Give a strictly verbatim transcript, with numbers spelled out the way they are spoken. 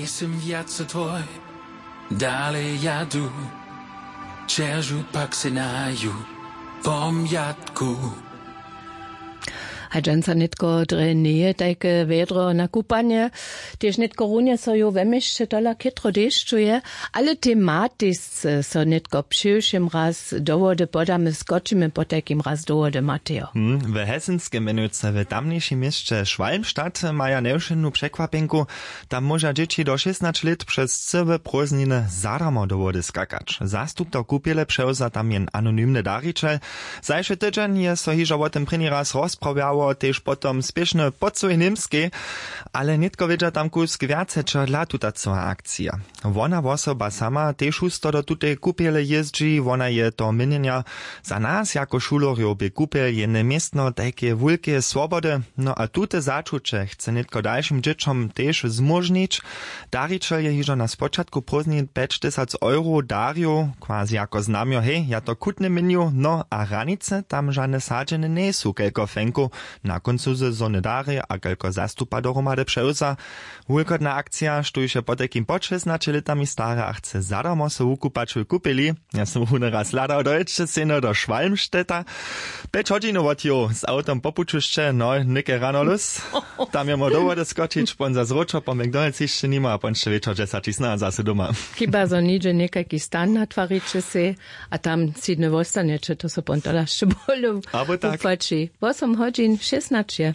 Sym wjace twój, dale jadu, čeržu pak se naju pomjatku. A dźensa nětko drje njeje tajke wjedro na kupanje. Tež nětko runje so ju we měsće tola chětro dešćuje, ale tematej so nětko přiwšěm raz do wody podamy, skočimy potajkim raz do wody, matejo. Hm, we hesenskej měnujce w tamnjejšim měsće šwalmstadt maja njewšenu překwapjenku. Tam móža dźěći do šěsnaće lět přez cyłe prózdniny zadarmo do wody skakać. Zastupto kupjele přewza tam jen anonymny darićel. Zašły tydźeń je so hižo wo tym prěni raz rozprawjało, tež potom spěšny po cyłej němskej. Ale nětko wědźa tam kusk wjace čehodla tuta cyła akcija. Wona wosoba sama tež husto do tutej kupjele jězdźi. Wona je toho měnjenja: za nas jako šulerjow bě kupjel jene městno tajkeje wulkeje swobody. No a tute začuće chce nětko dalšim dźěćom tež zmóžnić. Darićel je hižo na spočatku prózdnin pjećtysac euro darił, quasi jako znamjo: hej, ja to chutnje měnju. No a hranice tam žane sadźene njejsu kelko fenkow. Na kóncu sezony dary a kelko zastupa dohromady přewza. Wulkotna akcija, štóž je potajkim pod šěsnaće lětami stara a chce zadarmo so wukupać w kupeli. Ja sym wón raz hladał, dojedźće sejno do šwalmstedta. Pjeć hodźinow wot jow z awtom po puću sće, no, něke rano lus. Tam je móhł do wody skočić, pon za zróčo po McDonald's hišće nimo a pon sće wječor dźesaći snano zaso doma. Chyba zo něhdźe někajki stan natwariće sej a tam sydny wostanjeće, to so pon tola sće bóle. Abo tak. Wopłaći. Wosom hodźin šěsnaće.